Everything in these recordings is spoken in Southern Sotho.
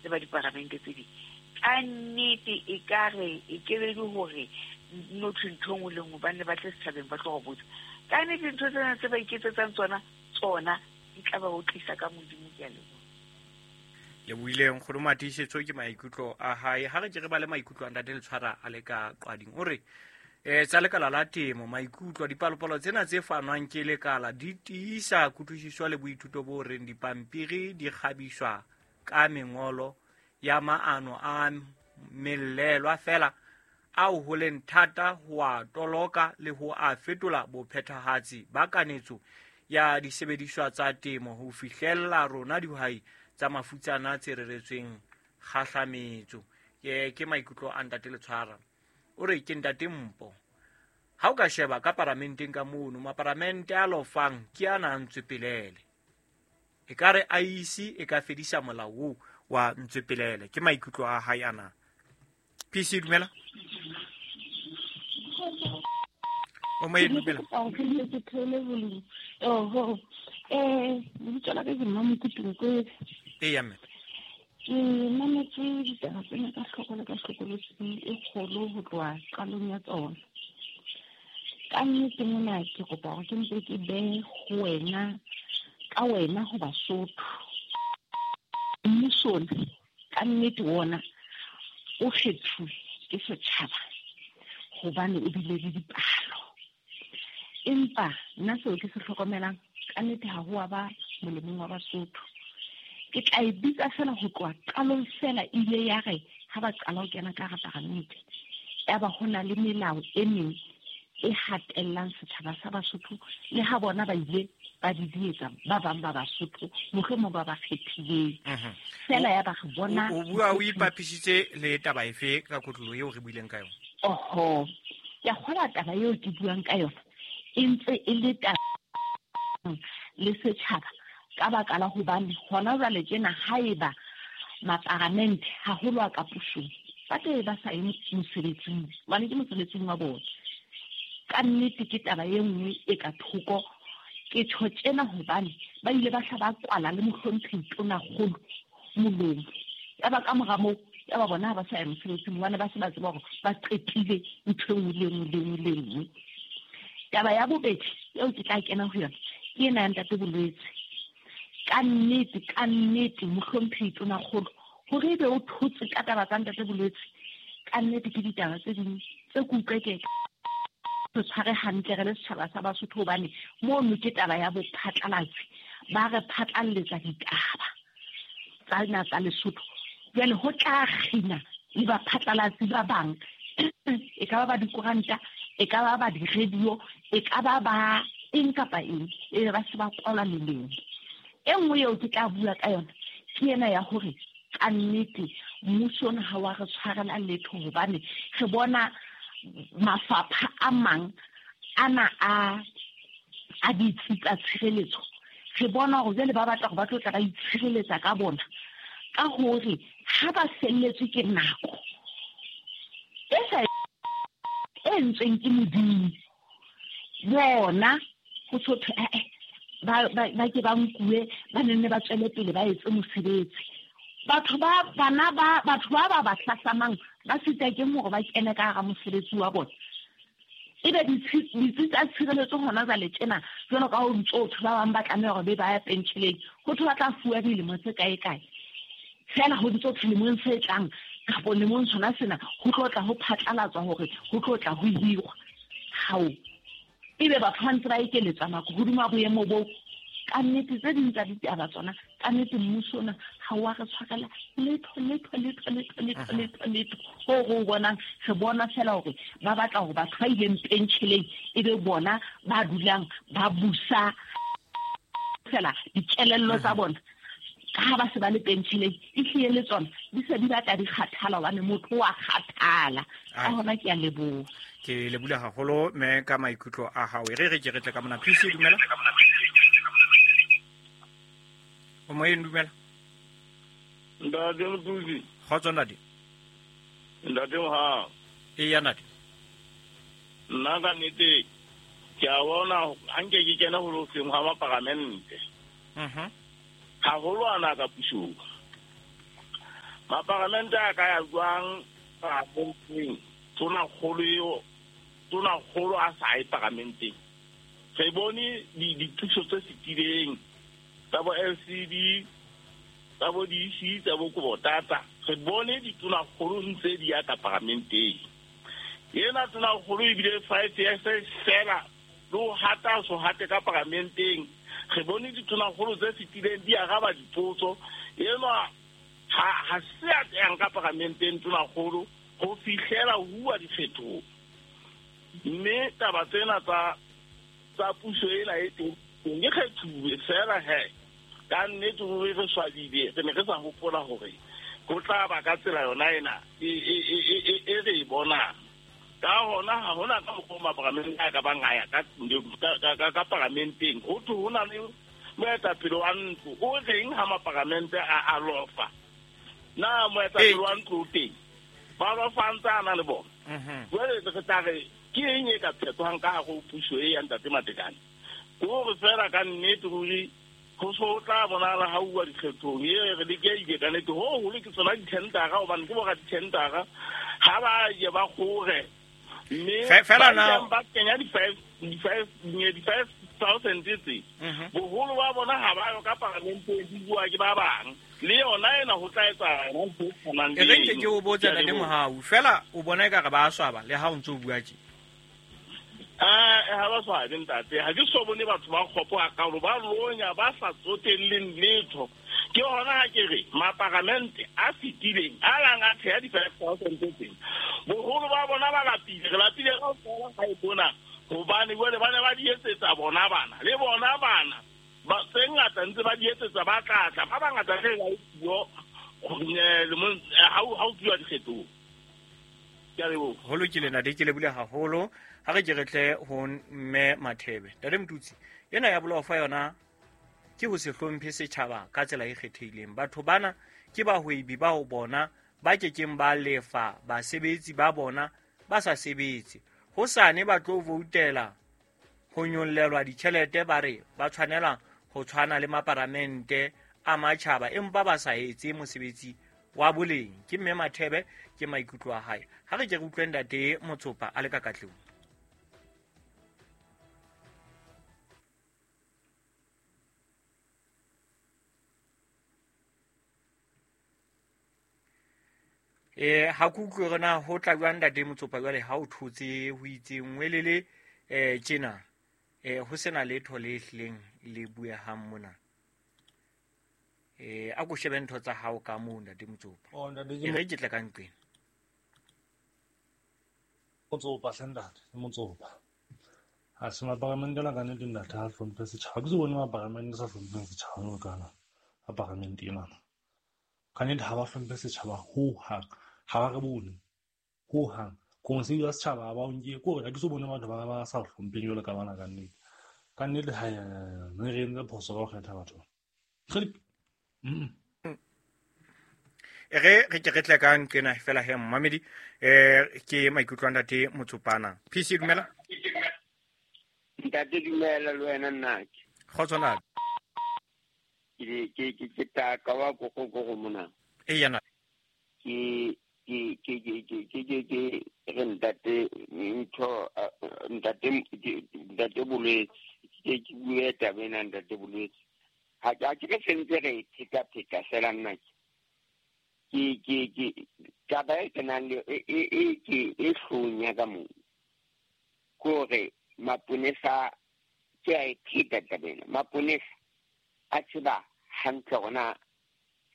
Le ba diparamente tse ding, ka nnete e ka re e kebe le hore no thwe ntho e nngwe le nngwe ba nne ba tle setjhabeng ba tlo go botsa. Ka nnete dintho tsena tse ba iketsetsang tsona tsona di tla ba otlisa ka Modimo. Ke a leboha. Lebohile nkgono Matiisetso ke maikutlo a hae. Ha re ke re ba le maikutlo a ntate Letshwara a le ka qwading. O re tsa lekala la temo maikutlo dipalopalo tsena tse fanwang ke lekala di tiisa kutlwisiso le boithuto bo reng dipampiri di kgabiswa ka mengolo ya maano a mellelwa fela ao ho leng thata ho a toloka le ho a fetola bophethahatsi ba kanetso ya disebediswa tsa temo ho fihlella rona dihwai tsa mafutsana tse reretsweng kgahlametso. Ke maikutlo a ntate Letshwara. O re ke ntate Mpo. Ha o ka sheba ka paramenteng ka mono, maparamente a lofang ke ana a Ntswepelele. E ka re IEC e ka fedisa molao oo wa Ntswepelele. Ke maikutlo a hae ana. PC dumela. O mo dumela. Ke theole volume. Oho. Lebitso la ka ke Mmamokutu Nkwebe. Eya mme. Ke mametse ditaba tsena ka hloko le ka hlokolosi e kgolo ho tloha qalong ya tsona. Ka nnete mona ke kopa hore ke mpe ke behe ho wena, ka wena ho Basotho. Mmuso ona, ka nnete wona o kgethuwe ke setjhaba hobane o bile le dipalo. Empa nna seo ke se hlokomelang ka nnete ha ho wa ba molemong wa Basotho. Ke tla e bitsa fela ho tloha qalong fela ile ya re ha ba qala ho kena ka hara paramente, ya ba ho na le melao e meng e hatellang setjhaba sa Basotho le ha bona ba ile ba didietsa ba bang ba Basotho mohlomong ba ba kgethileng. Fela ya ba re bona O bua o ipapisitse le taba efe ka kotlolo eo re buileng ka yona? Oho, ke a kgolwa taba eo ke buang ka yona e ntse e le taba le setjhaba ka baka la hobane hona jwale tjena haeba maparamente haholo a ka pusong ba tla ba sa ye mosebetsing, hobane ke mosebetsing wa bona. Ka nnete ke taba e nngwe e ka thoko. Ke tjho tjena hobane ba ile ba hla ba kwala le mohlomphehi Tonakgolo molomo. Ya ba ka mora moo, ya ba bona ha ba sa ya mosebetsing hobane ba se ba tseba hore ba qetile ntho e nngwe le nngwe le nngwe le nngwe. Taba ya bobedi eo ke tla kena ho yona ke ena ya ntate Bolwetse. Ka nnete, ka nnete mohlomphehi Tonakgolo hore ebe o thotse ka taba tsa ntate Bolwetse, ka nnete ke ditaba tse ding tse ke utlwe ke re tshware hantle re le setjhaba sa Basotho, hobane mono ke taba ya bophatlalatsi, ba re phatlalletsa ditaba tsa na tsa Lesotho. Jwale ho tla kgina le baphatlalatsi ba bang, e ka ba ba dikoranta, e ka ba ba di-radio, e ka ba ba eng kapa eng, e be ba se ba kwalwa melemo. E nngwe eo ke tla bua ka yona ke ena ya hore ka nnete mmuso ona ha wa re tshwarela letho, hobane re bona mafapha a mang ana a ditsi tsa tshireletso, re bona hore jwale ba batla hore ba tlo tla ba itshireletsa ka bona, ka hore ha ba felletswe ke nako e sa e entsweng ke Modimo, bona ho so thwe, ba ke ba nkuwe, ba nenne ba tswele pele ba etse mosebetsi. Batho ba bana ba batho ba ba ba hlahlamang ba sita ke hore ba kene ka hara mosebetsi wa bona. Ebe ditsi tsa tshireletso hona jwale tjena, jwalo ka ho ntso thwe ba bang ba tlameha hore be ba ya pentjheleng, ho thwe ba tla fuwa dilemo tse kae kae. Fela ho ntso thwe lemong se tlang kapo lemong sona sena ho tlo tla ho phatlalatswa hore ho tlo tla ho hirwa. Hao, ebe batho ba ntse ba ekeletswa nako hodima boemo boo. Ka nnete tse ding tsa ditaba tsona, ka nnete mmuso ona ha wa re tshwarela letho, letho, letho, letho, letho, letho, letho. Hoo re o bonang, re bona fela hore ba batla hore batho ba ileng pentjheleng e be bona ba dulang ba busa fela dikelello tsa bona. Ka ha ba se ba le pentjheleng, e hlile le tsona di se di batla di kgathala, hobane motho wa kgathala. Ka hona ke a leboha. Ke lebohile haholo mme ka maikutlo a hao. E re re ke re tle ka mona. PC dumela. O moyeng dumela. Ntate Mothusi. Kgotso ntate. Ntate Mohau. Eya ntate. Nna ka nnete ke a bona ha nke ke kena ho loseng hwa maparamente. Haholo ana ka pusong. Maparamente a ka ya jwang paramenteng? Tonakgolo a sa ye paramenteng. Re bone dithuso tse fetileng tsa bo LCD, tsa bo DC, tsa bo Kobotata. Re bone ditonakgolo ntse di ya ka paramenteng. Ena tonakgolo ebile 5 years fela le ho hata so hate ka paramenteng. Re bone ditonakgolo tse fetileng di araba dipotso. Enwa ha se a yang ka paramenteng tonakgolo ho fihlela ho bua diphetoho. Mme taba tsena tsa puso ena e teng ke kgethuwe fela he. Ka nnete ruri re swabile, re ne re sa hopola hore ho tla ba ka tsela yona ena e re e bonang. Ka hona ha hona ka mokgwa maparamente a ka bang a ya ka paramenteng. Ho thwe ho na le moetapele wa ntlo o reng ha maparamente a lofa. Na moetapele wa ntlo o teng? Ba lofa ntse a na le bona. Jwale re tla re ke eng e ka phetohang ka hare ho puso e ya Ntate Matekane? Ke hore fela ka nnete ruri ho so tla bonahala ha uwa dikgethong e re lekehile ka nnete. Ho holo ke tsona dithendara, hobane ke bora dithendara ha ba ye ba kgore. Mme ba kenya di-5,000 tse. Boholo ba bona ha ba yo ka paramenteng, di bua ke ba bang. Le yona ena ho tla etsahala ntho e tshwanang le eno. E re nke ke o botse Ntate Mohau, fela o bona ekare ba swaba le ha o ntse o bua tje. Ha ba swabe ntate, ha ke so bone batho ba kgopo hakalo, ba lonya, ba sa tsotelleng letho. Ke hona ha ke re maparamente a fetileng a lang a theha di-5,000 tse, boholo ba bona ba lapile. Re lapile kaofela ha e bona, hobane jwale ba ne ba di etsetsa bona bana le bona bana ba tse ngata ntse ba di etsetsa, ba tlatla ba bangata re ba puo ha o tluwa dikgethong. Ke a leboha. Ho lokile ntate, ke lebile haholo. Ha re ke re tle ho mme Mathebe. Ntate Motutsi, ena ya bolofa yona ke ho se hlomphe setjhaba ka tsela e kgethehileng. Batho bana ke bahwebi bao bona ba kekeng ba lefa basebetsi ba bona ba sa sebetse. Hosane ba tlo voutela ho nyollelwa ditjhelete, ba re ba tshwanela ho tshwana le maparamente a matjhaba, empa ba sa etse mosebetsi wa boleng. Ke mme Mathebe, ke maikutlo a hae. Ha re ke re utlwe Ntate Motsopa a le ka Katlehong. Ha ke utlwe hore na ho tla jwang Ntate Motsopa jwale ha o thotse ho itseng welele tjena, ho sena letho le hlileng le buehang mona. A ko shebe ntho tsa hao ka moo Ntate Motsopa. E re ke tle ka nqeng. Motsopa hle ntate, Motsopa. Ha se maparamente ana ka nnete ntate ha hlomphe setjhaba. Ke se bone maparamente sa hlompheng setjhaba jwalo kana a paramente ena. Ka nnete ha ba hlomphe setjhaba ho hang. Ha ba re bone ho hang. Konsei ya setjhaba ha ba o nke. Ke hore ha ke so bone batho ba sa hlompheng jwalo ka bana ka nnete. Ka nnete ha re entse phoso ka ho kgetha batho. E re ke re tle ka nqena fela he mmamedi, ke maikutlo a Ntate Motsopana. PC dumela. Ntate dumela le wena nnake. Kgotso ntate. Ke taka wa go mona. E yana. Ke re ntate ntho ntate bolwetse. Ke bue taba ena ntate bolwetse. Ha ke re sentse re pheta fela nna ke taba e kenang le e ke e hlonya ka moo. Kore maponesa ke a e pheta taba ena. Maponesa a tseba hantle hore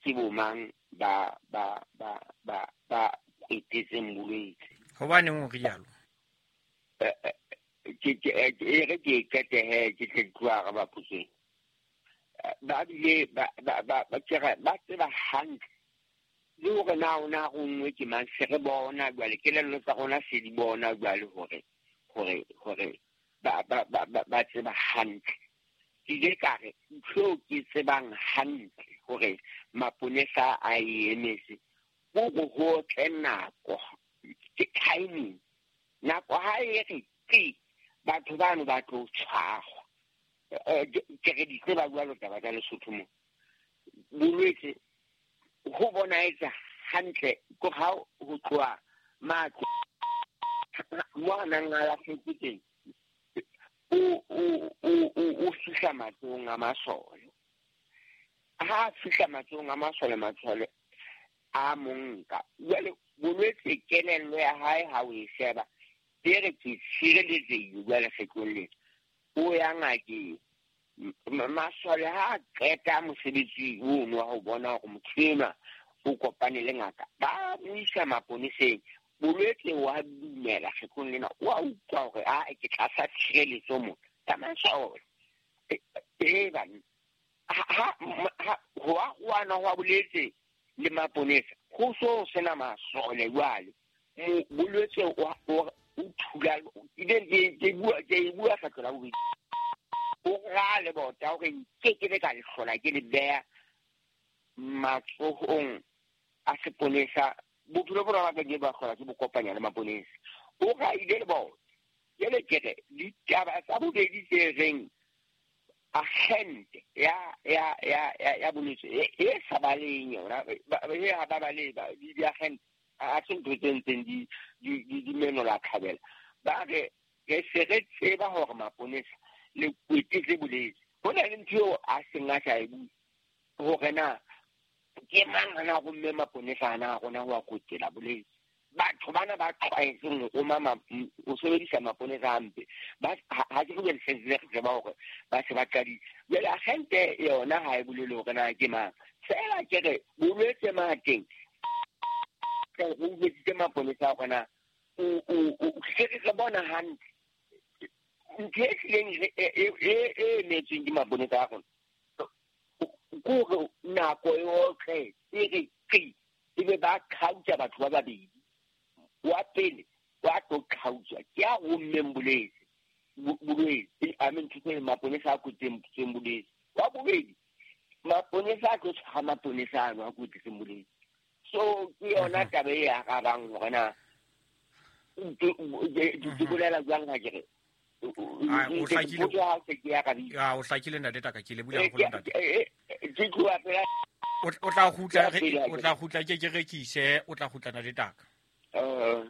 ke bo mang ba etetseng bolwetse. Hobaneng o rialo? Ke e re ke qete he ke tle tloha re ba puseng. Ba bile ba tseba hantle le hore na o na rongwe ke mang, se re bona jwale kelello tsa rona se di bona jwale hore ba tseba hantle. Ke ile ka re ntho ke tsebang hantle hore maponesa a e emetse ho ho tle nako ke timing. Nako ha e re ke batho bano ba tlo tshwarwa. Ke re di tseba jwalo taba tsa Lesotho mo. Bolwetse ho bona etsa hantle ko ha ho tloha matlo mo a nang a lahletse teng o fihla matsohong a masole. Ha a fihla matsohong a masole, masole a mo nka. Jwale bolwetse kelello ya hae ha o e sheba e re ke tshireletsehile jwale kgetlong lena. O ya ngakeng. Masole ha a qeta mosebetsi ono wa ho bona hore motho enwa o kopane le ngaka, ba mo isa maponeseng. Bolwetse wa dumela kgetlong lena, wa utlwa hore a ke tlasa tshireletso mona ka masole. Banna ha ho a kwana ho a boletse le maponesa ho so sena masole jwale. Bolwetse o thula ke bua kgetlo la bobedi. O ra le bota hore nke ke be ka le hlola ke le beha matsohong a seponesa. Bophelo bona ba ke ba hlola ke bo kopanya le maponesa. O ra ile le bona. Jwale ke re ditaba tsa bobedi tse reng agente ya bolwetse e sa baleng yona, ha ba bale di-agente a se ntho tse ntseng di menola thabela. Ba re re se re tseba hore maponesa le kwetetse bolwetse. Ho na le ntho eo a seng a sa e bue hore na ke mang ana romme maponesa ana a rona ho a kwetela bolwetse. Batho bana ba tlwaetseng ho roma ho sebedisa maponesa hampe, ha ke bue le re tseba hore ba se ba qadile. Jwale agente yona ha e bolele hore na ke mang. Feela ke re bolwetse mateng re utlwisitse maponesa a rona re bona hantle ntho e hlileng e emetsweng ke maponesa a rona ke hore nako yohle e re qi ebe ba qhautsa batho ba babedi. Wa pele wa tlo qhautswa ke a rommeng bolwetse I mean ntho maponesa a kwetseng bolwetse. Wa bobedi maponesa a tlo tshwara maponesa ano a kwetseng bolwetse. So ke yona taba e arabang hore na ke bolela jwang ha ke re o hlakile. O hlakile ntate Taka, ke lebohile haholo ntate. O tla kgutla ke rekise, o tla kgutla ntate Taka. O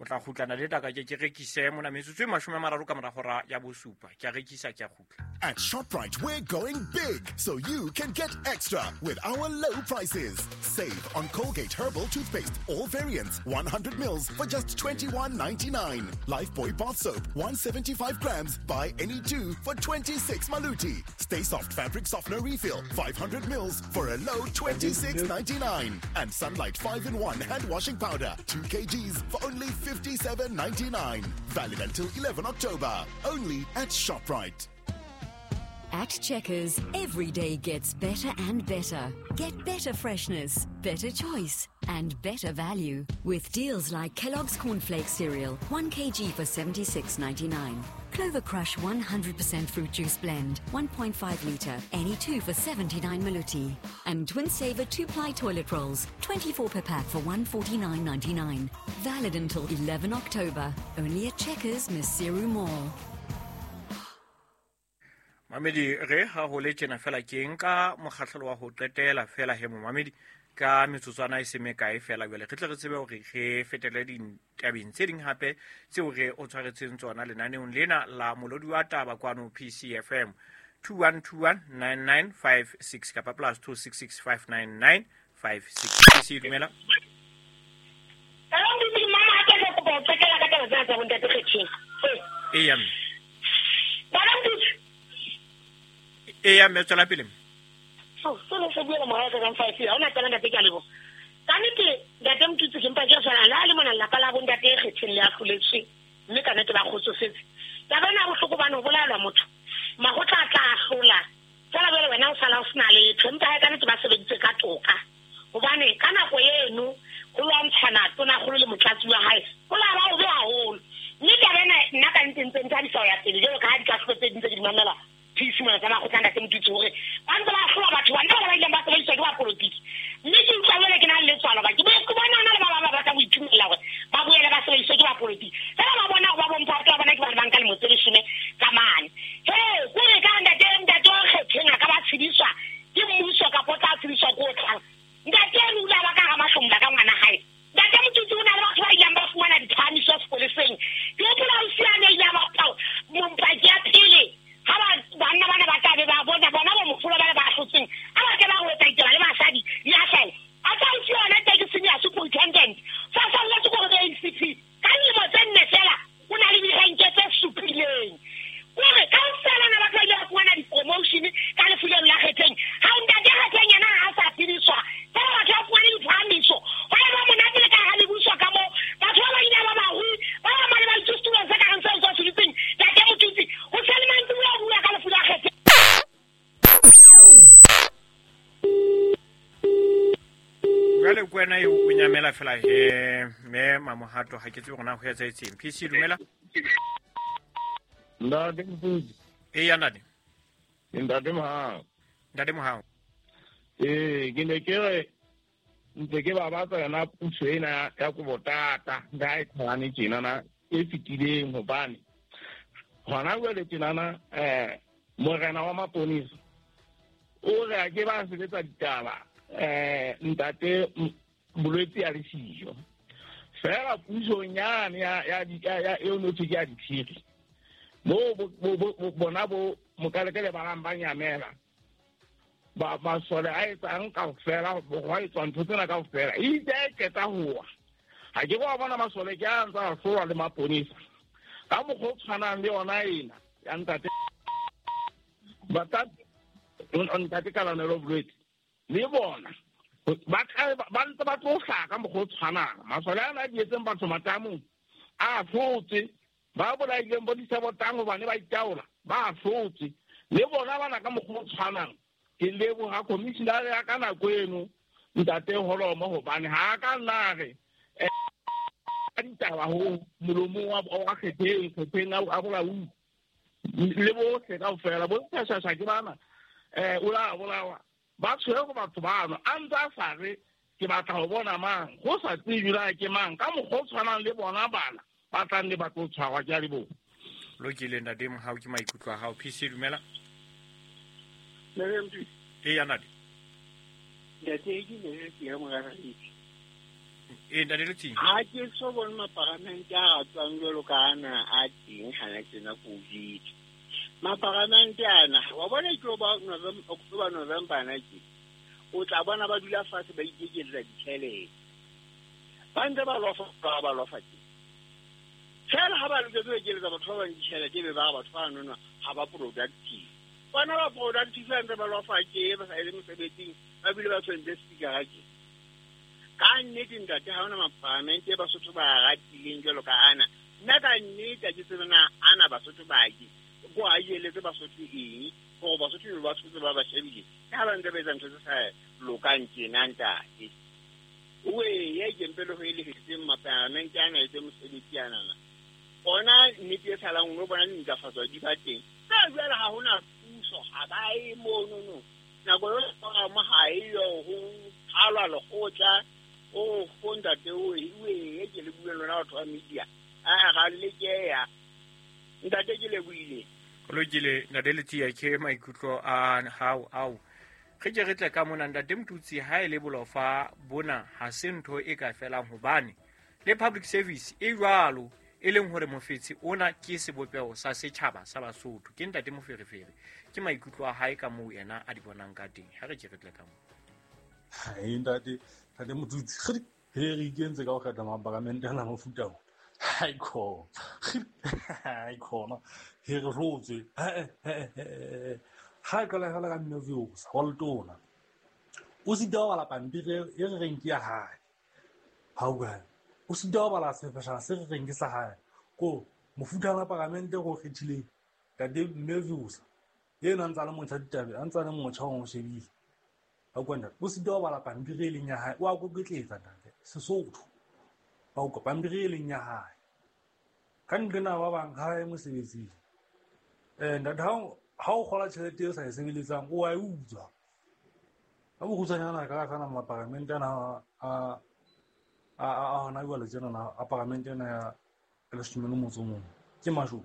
tla kgutla ntate Taka ke rekise mona metsotso e 30 ka mora hora ya bosupa. Ke a rekisa ke a kgutla. At ShopRite, we're going big so you can get extra with our low prices. Save on Colgate Herbal Toothpaste, all variants, 100 mils for just $21.99. Lifebuoy Bath Soap, 175 grams, buy any two for 26 maluti. Stay Soft Fabric Softener Refill, 500 mils for a low $26.99. And Sunlight 5-in-1 Hand Washing Powder, 2 kgs for only $57.99. Valid until 11 October. Only at ShopRite. At Checkers, every day gets better and better. Get better freshness, better choice, and better value. With deals like Kellogg's Cornflakes cereal, 1 kg for $76.99. Clover Crush 100% fruit juice blend, 1.5 litre, any two for 79 maluti. And Twin Saver 2-ply toilet rolls, 24 per pack for $149.99. Valid until 11 October. Only at Checkers, Maseru Mall. Mamedi re ha ho le tjena fela ke nka mokgahlelo wa ho qetela fela he momamedi ka metsotswana e se mekae fela jwale re tle re tsebe hore re fetele ditabeng tse ding hape tseo re o tshwaretseng tsona lenaneong lena la Molodi wa Taba kwano PCFM 21219956 kapa plus 26659956. PC dumela. Eya eya mme tswela pele. So le se buela morao ka 5 ha ona taba ntate ke a leboha. Ka nnete ntate Motutsi ke mpa ke re fela la le mona lelapa la bo ntate e kgetheng le ahloletswe mme ka nnete ba kgotsofetse. Taba ena ya bohloko bane ho bolaelwa motho makgotla a tla ahlola fela jwale wena o sala o sena letho, empa hae ka nnete ba sebeditse ka toka hobane ka nako eno ho lwantshana tonakgolo le motlatsi wa hae ho la ba hobe haholo. Mme taba ena nna ka nnete ntse nthabisa ho ya pele jwalo ka ha dikahlolo tse ding tse ke di mamela Phisi mona tsa makgotla ntate Motutsi hore ba ntse ba ahlola batho bana ba ileng ba sebediswa ke bapolotiki. Mme ke utlwa jwale ke na le letswalo ba ke bona hona le ba bang ba batla ho itumella hore ba boele ba sebediswe ke bapolotiki. Fela ba bona hore ba bomphato ba bona ke bana ba nka lemo tse 10 ka mane. He kore ka ntate wa kgetheng a ka ba tshediswa ke mmuso kapa o tla tshediswa ke o tlang. Ntate eno o ile a ba ka hara mahlomola ka ngwana. Kwena eo o nyamela fela he mme Mamohato ha ke tsebe hore na ho etsahetseng. PC dumela. Ntate Mfuzi. Eya ntate. Ntate Mohau. Ntate Mohau. Ke ne ke re ntse ke babatsa yona puso ena ya Kobotata ha e qhalane tjenana e fetileng, hobane hona jwale tjenana morena wa maponesa o re a ke ba sebetsa ditaba ntate bolwetse ya le siyo fela pusong yane ya eo no thwe ke ya diphiri mo bona bo mokalekele ba bang ba nyamela ba masole a etsang kaofela go etswa ntho tsena kaofela e itse a e qeta howa ha ke wa bona masole ke a ntsa a hlolwa le maponesa ka mokgwa o tshwanang le yona ena ya ntate ntate Kalanelo Bolwetse le bona ba ntse ba tlo hlaha ka mokgwa o tshwanang. Masole ana a dietseng batho matamong a hlotse, ba bolaileng bo disabotang hobane ba itaola ba hlotse, le bona bana ka mokgwa o tshwanang. Ke leboha commissioner ya ka nako eno ntate Holomo hobane ha ka nna re ditaba ho molomong wa kgetheng a bolauli le bohle kaofela bo ntshashasha ke bana o la bolawa ba tshwere go batho bano a ntse a sa re ke batla ho bona mang go sa tsebe la ke mang ka mokgwa o tshwanang le bona bana ba tlang le ba tlo tshwarwa. Ke a leboha. Lokile ntate Mohau, ke maikutlo a hao. PC dumela. Eya ntate. Ntate ke ne ke ya moraredi. Ntate Letsing. Ha ke so bone maparamente a tswang jwalo ka ana a teng hana tsena COVID. Maparamente ana wa bona ke ba November, October, November ana ke o tla bona ba dula fatshe ba ikekeletsa ditjhelete. Ba ntse ba lofa ba lofa teng. Fela ha ba loketse ho ekeletsa batho ba bang ditjhelete be ba batho ba nona ha ba productive. Bona ba productive ba ntse ba lofa ke ba sa ele mosebetsing ba bile ba tshwentse speaker ke. Ka nnete ntate ha hona maparamente Basotho ba ratileng jwalo ka ana. Nna ka nnete ha ke tsebe na ana Basotho ba ke go a eletse Basotho eng gore Basotho ba tshotse ba ba shebile ke ha ba ntse ba etsa ntho tse sa lokang tjena ntate. Oe ye ke mpele ho elehetseng maparamente ana etse mosebetsi anana. Ona nnete e salang o bona dintlafatso di ba teng. Ka jwale ha hona puso ha ba e mono no. Nako eo mo ha e yo ho qhalwa lekgotla o go ntate o e ke le bue lona batho ba media a ga le keya ntate ke le buile. Lokile ntate Letsia, ke maikutlo a hao ao re ke re tle ka mona ntate Mtutsi. Ha e le bolofa bona ha se ntho e ka felang hobane le public service e jwalo e leng hore mofetsi ona ke sebopeho sa setjhaba sa Basotho. Ke ntate Moferefere, ke maikutlo a hae ka moo yena a di bonang ka teng. Ha re ke re tle ka moo. Hai ntate Motutsi he re ikentse ka ho kgetha maparamente ana mofuta ona. Hai khona. Hai khona. He re hlotswe. Ha qala fela ka mme views wa letona. O sita ho bala pampiri e re reng ke ya hae. Ha o bua. O sita ho bala sefeshana se re reng ke sa hae. Ko mofuta wa paramente go kgethileng ntate mme views. Yena ntsa le motjha ditabe, a ntsa le motjha o shebile. Ha kwa ntate o sita ho bala pampiri e leng ya hae, o a koketletsa ntate Sesotho. Ba o pampiri e leng ya hae. Ka nqena ba bang ha e mosebetsing. Ntate ha o kgola tjhelete e sa e sebeletsang o a e utswa. Ka bokgutshwanyana ka kana maparamente ana a hona jwale tjena a paramente ena ya 11 ke mashodu.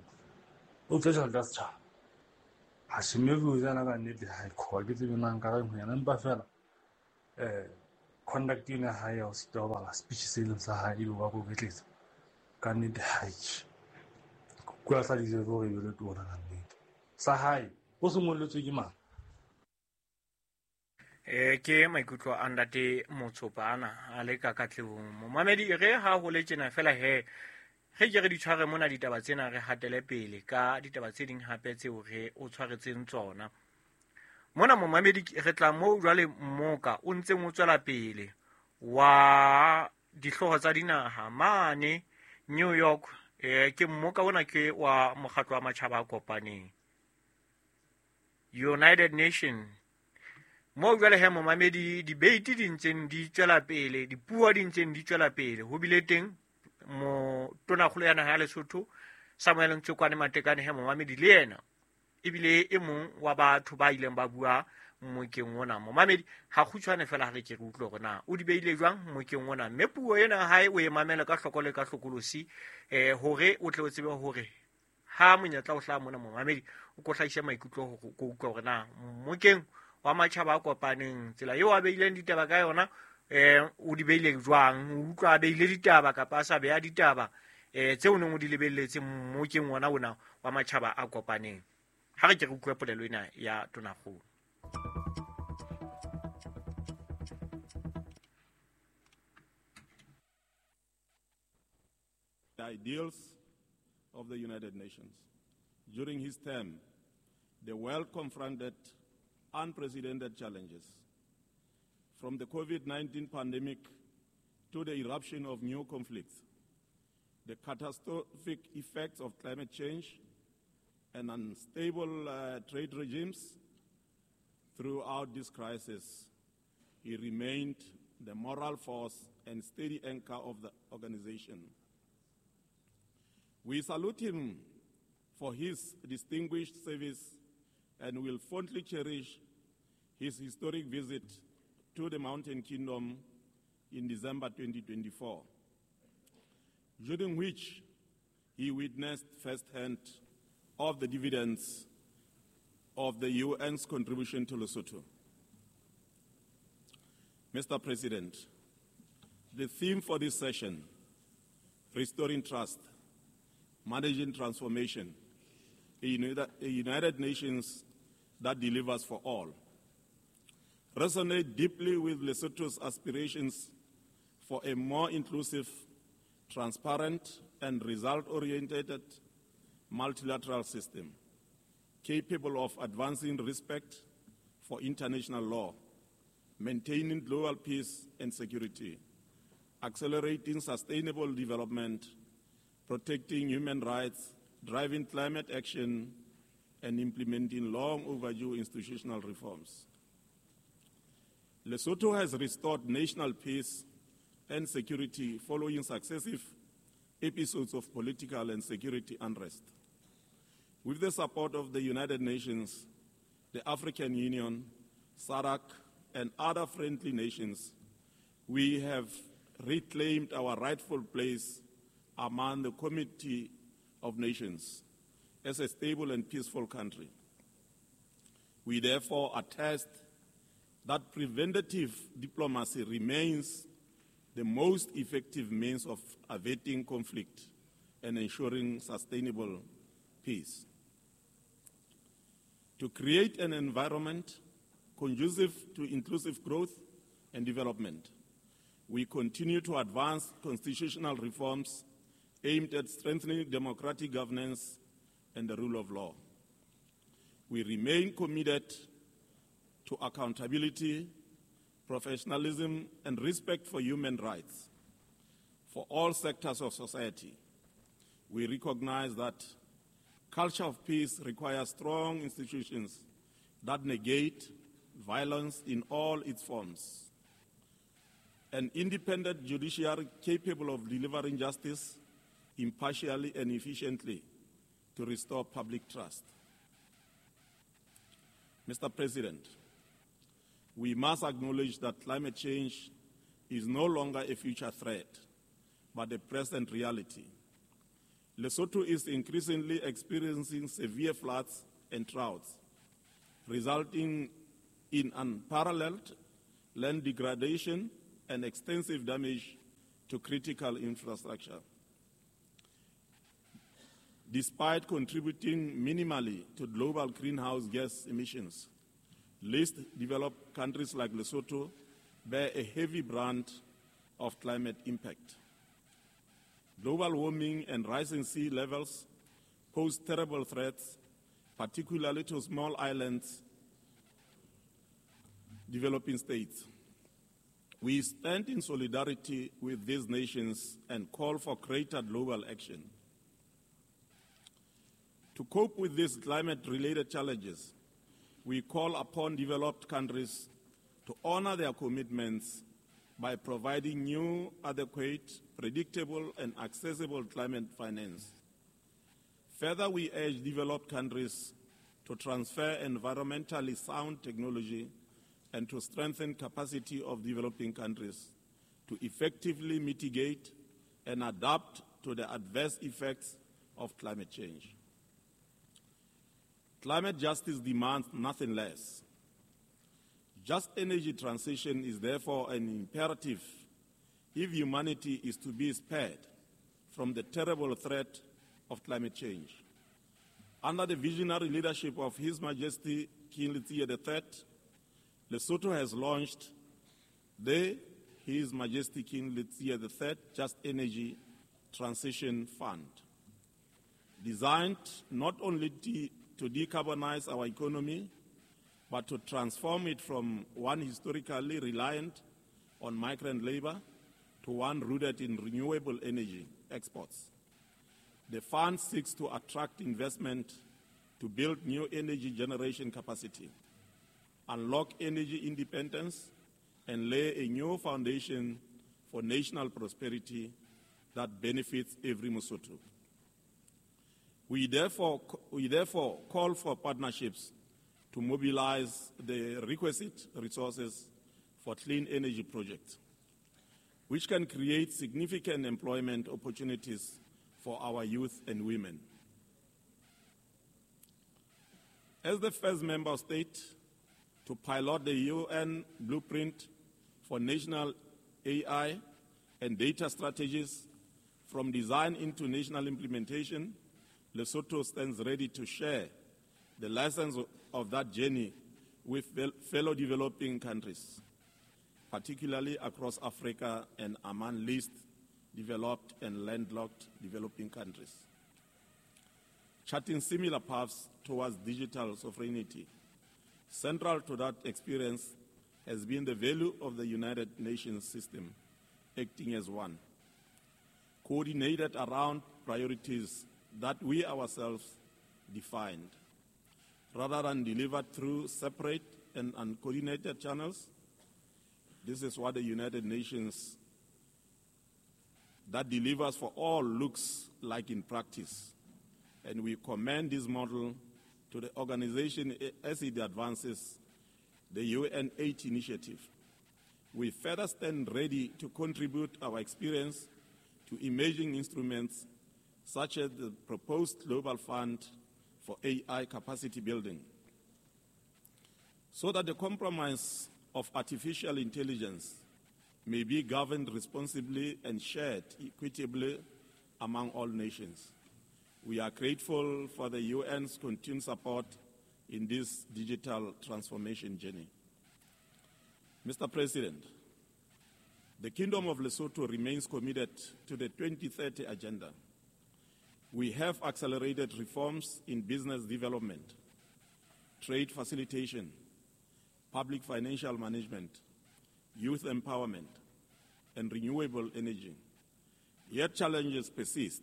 O utswa tjhelete ya setjhaba. Ha se mme bua ka nnete ha e ke tsebe na nka reng ho yena empa fela conduct ena ha ya o sita ho bala speech se leng sa hae ebe wa koketletsa ka nnete ha kwa sa deserve hore e be le tona ka nnete sa hae o se ngolletswe ke mang. Ke maikutlo a ntate Motsopa ana a le ka Katlehong. Momamedi re ha ho le tjena fela he re ke re di tshware mona ditaba tsena re hatele pele ka ditaba tse ding hape tseo re o tshwaretseng tsona. Mona momamedi re tla moo jwale mmoka o ntseng o tswela pele wa dihlooho tsa dinaha mane New York. Ke mmoka ona ke wa mokgatlo wa matjhaba a kopaneng, United Nation. Moo jwale he momamedi debate di ntseng di tswela pele, dipuo di ntseng di tswela pele. Ho bile teng mo tonakgolo ya naha ya Lesotho Samuel Ntshokwane Matekane he momamedi le yena ebile e mong wa batho ba ileng ba bua mmokeng ona. Momamedi ha kgutshwane fela ha re ke re utlwe hore na o di beile jwang mmokeng ona, mme puo ena hae o e mamele ka hloko le ka hlokolosi hore o tle o tsebe hore ha monyetla o hlaha mona momamedi o ko hlahise maikutlo hore o utlwe hore na mmokeng wa matjhaba a kopaneng tsela eo a beileng ditaba ka yona o di beile jwang, o utlwa a beile ditaba kapa a sa beha ditaba tseo neng o di lebelletse mmokeng ona ona wa matjhaba a kopaneng. Ha re ke re utlwe polelo ena ya tonakgolo. The ideals of the United Nations. During his term, the world confronted unprecedented challenges, from the COVID-19 pandemic to the eruption of new conflicts, the catastrophic effects of climate change, and unstable trade regimes. Throughout this crisis, he remained the moral force and steady anchor of the organization. We salute him for his distinguished service and will fondly cherish his historic visit to the Mountain Kingdom in December 2024, during which he witnessed firsthand of the dividends of the UN's contribution to Lesotho. Mr. President, the theme for this session, Restoring Trust, Managing Transformation, a United Nations that delivers for all, resonate deeply with Lesotho's aspirations for a more inclusive, transparent, and result-oriented multilateral system capable of advancing respect for international law, maintaining global peace and security, accelerating sustainable development, protecting human rights, driving climate action, and implementing long overdue institutional reforms. Lesotho has restored national peace and security following successive episodes of political and security unrest. With the support of the United Nations, the African Union, SADC, and other friendly nations, we have reclaimed our rightful place among the community of nations as a stable and peaceful country. We therefore attest that preventative diplomacy remains the most effective means of averting conflict and ensuring sustainable peace. To create an environment conducive to inclusive growth and development, we continue to advance constitutional reforms aimed at strengthening democratic governance and the rule of law. We remain committed to accountability, professionalism, and respect for human rights for all sectors of society. We recognize that culture of peace requires strong institutions that negate violence in all its forms. An independent judiciary capable of delivering justice impartially and efficiently to restore public trust. Mr. President, we must acknowledge that climate change is no longer a future threat, but a present reality. Lesotho is increasingly experiencing severe floods and droughts, resulting in unparalleled land degradation and extensive damage to critical infrastructure. Despite contributing minimally to global greenhouse gas emissions, least developed countries like Lesotho bear a heavy brunt of climate impact. Global warming and rising sea levels pose terrible threats, particularly to small islands, developing states. We stand in solidarity with these nations and call for greater global action. To cope with these climate-related challenges, we call upon developed countries to honor their commitments by providing new, adequate, predictable, and accessible climate finance. Further, we urge developed countries to transfer environmentally sound technology and to strengthen capacity of developing countries to effectively mitigate and adapt to the adverse effects of climate change. Climate justice demands nothing less. Just energy transition is therefore an imperative if humanity is to be spared from the terrible threat of climate change. Under the visionary leadership of His Majesty King Letsie III, Lesotho has launched the His Majesty King Letsie III Just Energy Transition Fund, designed not only to decarbonize our economy, but to transform it from one historically reliant on migrant labor to one rooted in renewable energy exports. The fund seeks to attract investment to build new energy generation capacity, unlock energy independence, and lay a new foundation for national prosperity that benefits every Mosotho. We therefore call for partnerships to mobilize the requisite resources for clean energy projects, which can create significant employment opportunities for our youth and women. As the first member state to pilot the UN Blueprint for National AI and Data Strategies from design into national implementation, Lesotho stands ready to share the lessons of that journey with fellow developing countries, particularly across Africa and among least developed and landlocked developing countries, charting similar paths towards digital sovereignty. Central to that experience has been the value of the United Nations system, acting as one, coordinated around priorities that we ourselves defined, rather than delivered through separate and uncoordinated channels. This is what the United Nations that delivers for all looks like in practice. And we commend this model to the organization as it advances the UN8 initiative. We further stand ready to contribute our experience to emerging instruments such as the proposed Global Fund for AI capacity building, so that the compromise of artificial intelligence may be governed responsibly and shared equitably among all nations. We are grateful for the UN's continued support in this digital transformation journey. Mr. President, the Kingdom of Lesotho remains committed to the 2030 agenda. We have accelerated reforms in business development, trade facilitation, public financial management, youth empowerment, and renewable energy. Yet challenges persist.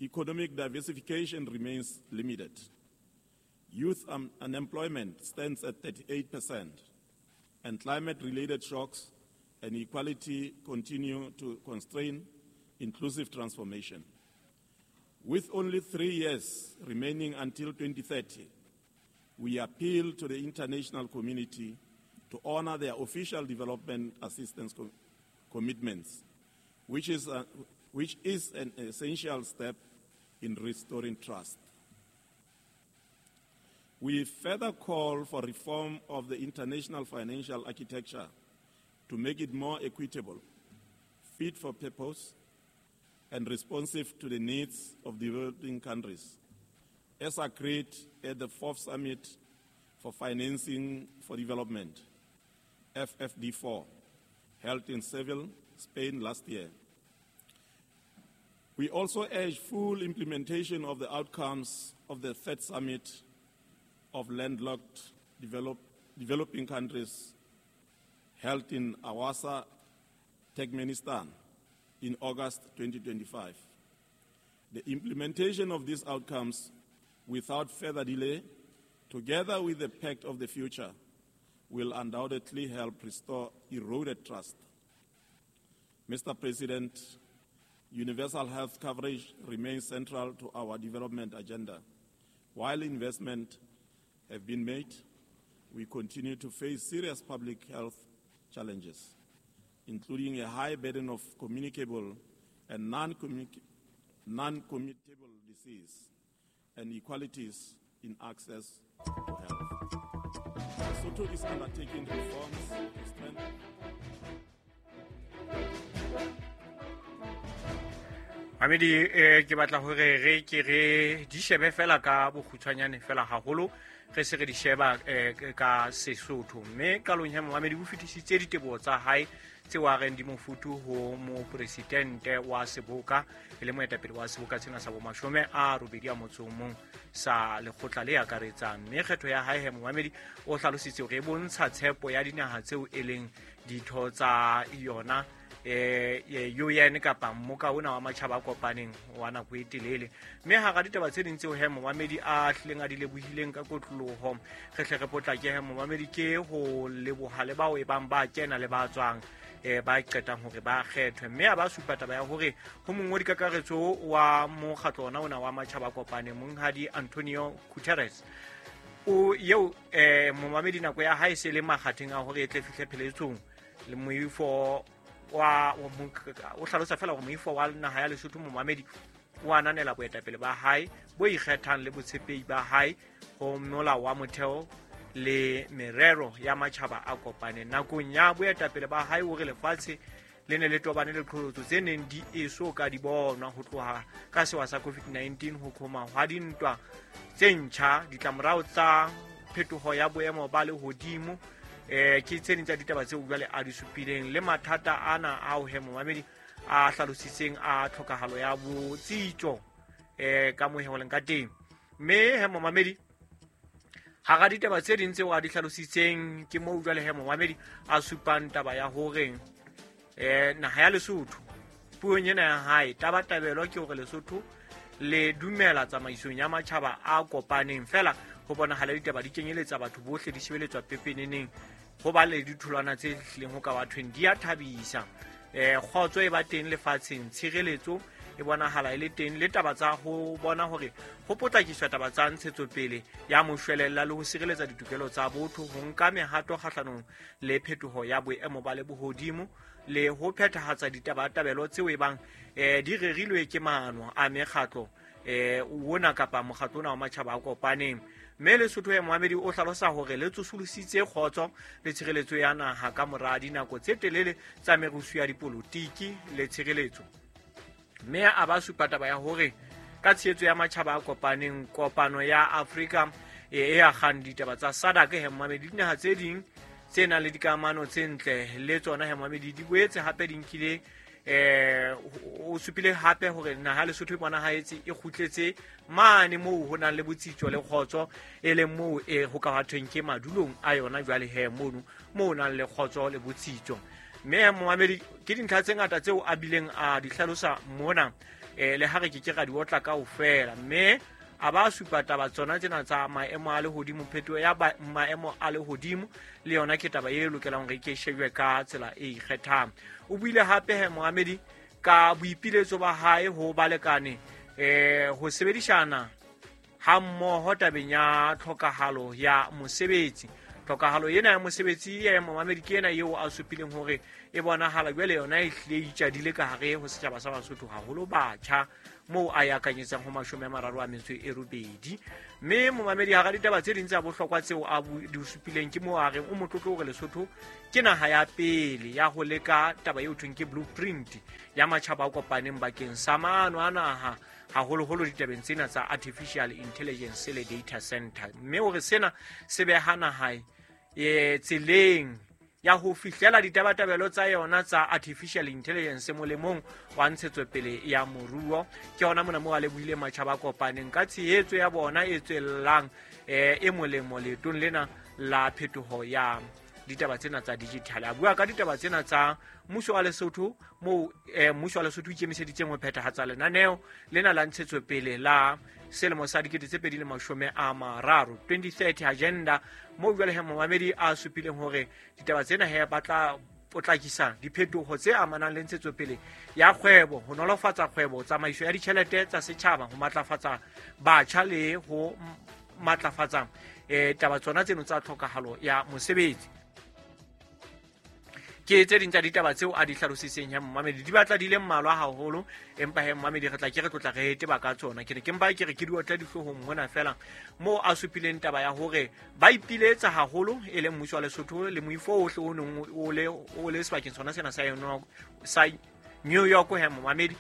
Economic diversification remains limited. Youth unemployment stands at 38%, and climate-related shocks and inequality continue to constrain inclusive transformation. With only 3 years remaining until 2030, we appeal to the international community to honor their official development assistance commitments, which is an essential step in restoring trust. We further call for reform of the international financial architecture to make it more equitable, fit for purpose, and responsive to the needs of developing countries, as agreed at the 4th Summit for Financing for Development, FFD4, held in Seville, Spain last year. We also urge full implementation of the outcomes of the 3rd Summit of Landlocked Developing Countries held in Awaza, Turkmenistan, in August 2025. The implementation of these outcomes without further delay, together with the Pact of the Future, will undoubtedly help restore eroded trust. Mr. President, universal health coverage remains central to our development agenda. While investment have been made, we continue to face serious public health challenges, including a high burden of communicable and non-communicable disease and inequalities in access to health. Lesotho is undertaking reforms to strengthen. Mamedi, ke batla hore re ke re di shebe fela ka bokgutshwanyane fela haholo, re se re di sheba ka Sesotho. Mme qalong ya momamedi o fetisitse diteboho tsa hae tseo a reng di mofuthu ho mopresidente wa seboka, e le moetapele wa seboka sena sa bomashome a robedi a motso o mong sa lekgotla le akaretsang. Mme kgetho ya hae he momamedi o hlalositse hore e bontsha tshepo ya dinaha tseo e leng ditho tsa yona UN kapa mmoka ona wa matjhaba a kopaneng wa nako e telele. Mme hara ditaba tse ding tseo he momamedi a hlileng a di lebohileng ka kotloloho, re hle re potlake he momamedi ke ho leboha le bao e bang ba kena le ba tswang ba qetang hore ba kgethwe. Mme a ba supa taba ya hore ho mongodi kakaretso wa mokgatlo ona ona wa matjhaba a kopaneng, monghadi Antonio Guterres, o eo momamedi nako ya hae se le makgatheng a hore e tle fihle pheletsong le moifo wa o hlalosa fela hore moifo wa naha ya Lesotho momamedi o ananela boetapele ba hae bo ikgethang le botshepehi ba hae ho molao wa motheo le merero ya matjhaba a kopaneng. Nakong ya boetapele ba hae o re lefatshe le ne le tobane le qholotso tse neng di eso ka di bonwa ho tloha ka sewa sa COVID-19, ho qhoma hwa dintwa tse ntjha, ditlamorao tsa phetoho ya boemo ba lehodimo, ke tse ding tsa ditaba tseo jwale a di supileng, le mathata ana ao he momamedi a hlalositseng a tlhokahalo ya botsitso ka moheho leng ka teng. Mme he momamedi hara ditaba tse ding tseo a di hlalositseng ke moo jwale he momamedi a supang taba ya hore naha ya Lesotho puong ena ya hae tabatabelo ke hore Lesotho le dumela tsamaisong ya matjhaba a kopaneng, fela ho bonahala ditaba di kenyeletsa batho bohle, di shebeletswa pepeneneng, ho ba le ditholwana tse hlileng ho ka bathweng di a thabisa. Kgotso e ba teng lefatsheng, tshireletso e bonahala e le teng, le taba tsa ho bona hore ho potlakiswa taba tsa ntshetsopele ya moshwelella le ho sireletsa ditokelo tsa botho, ho nka mehato kgahlanong le phetoho ya boemo ba lehodimo, le ho phethahatsa ditabatabelo tseo e bang di rerilwe ke maano a mekgatlo ona kapa mokgatlo ona wa matjhaba a kopaneng. Mme Lesotho ya momamedi o hlalosa hore le tsosolositse kgotso le tshireletso ya naha ka mora dinako tse telele tsa merusu ya dipolotiki le tshireletso. Mme a ba supa taba ya hore ka tshehetso ya matjhaba a kopaneng, kopano ya Afrika e akgang ditaba tsa SADC he momamedi, dinaha tse ding tse nang le dikamano tse ntle le tsona he momamedi di boetse hape di nkile o supile hape hore naha Lesotho e bonahetse e kgutletse mane moo ho nang le botsitso le kgotso, e leng moo e ho ka thweng ke madulong a yona jwale he mono moo nang le kgotso le botsitso. Mme momamedi ke dintlha tse ngata tseo a bileng a di hlalosa mona, le ha re ke ke ra di otla kaofela. Mme a ba supa taba tsona tsena tsa maemo a lehodimo, phetoho ya maemo a lehodimo le yona ke taba e lokelang hore ke shejwe ka tsela e ikgethang. O buile hape he momamedi ka boipiletso ba hae ho balekane ho sebedisana ha mmoho tabeng ya tlhokahalo ya mosebetsi. Tlhokahalo ena ya mosebetsi ya momamedi ke ena eo a supileng hore e bonahala jwale yona e hlile e itjadile ka hare ho setjhaba sa Basotho, haholo batjha, moo a akanyetsang ho 38. Mme momamedi hara ditaba tse ding tsa bohlokwa tseo a di supileng ke moo a reng o motlotlo hore Lesotho ke naha ya pele ya ho leka taba eo thweng ke blueprint ya matjhaba a kopaneng bakeng sa maano a naha, haholoholo ditabeng tsena tsa artificial intelligence le data center. Mme hore sena se beha naha tseleng ya ho fihlela ditabatabelo tsa yona tsa artificial intelligence molemong wa ntshetsopele ya moruo. Ke hona mona moo a lebohile matjhaba a kopaneng ka tshehetso ya bona e tswellang e molemo leetong lena la phetoho ya ditaba tsena tsa digital. A bua ka ditaba tsena tsa mmuso wa Lesotho moo mmuso wa Lesotho o ikemiseditseng ho phethahatsa lenaneo lena la ntshetsopele la selemo sa 2030 2030 agenda, moo jwale he momamedi a supileng hore ditaba tsena he ba tla potlakisa diphetoho tse amanang le ntshetsopele ya kgwebo, ho nolofatsa kgwebo, tsamaiso ya ditjhelete tsa setjhaba, ho matlafatsa batjha le ho matlafatsa taba tsona tseno tsa tlhokahalo ya mosebetsi. Ke tse ding tsa ditaba tseo a di hlalositseng he momamedi, di batla di le mmalwa haholo, empa he momamedi re tla ke re tlotla re teba ka tsona. Ke ne ke mpa ke re ke di otla dihloohong mona fela moo a supileng taba ya hore ba ipiletsa haholo e leng mmuso wa Lesotho le moifo ohle o neng o le sebakeng sona sena sa New York he momamedi,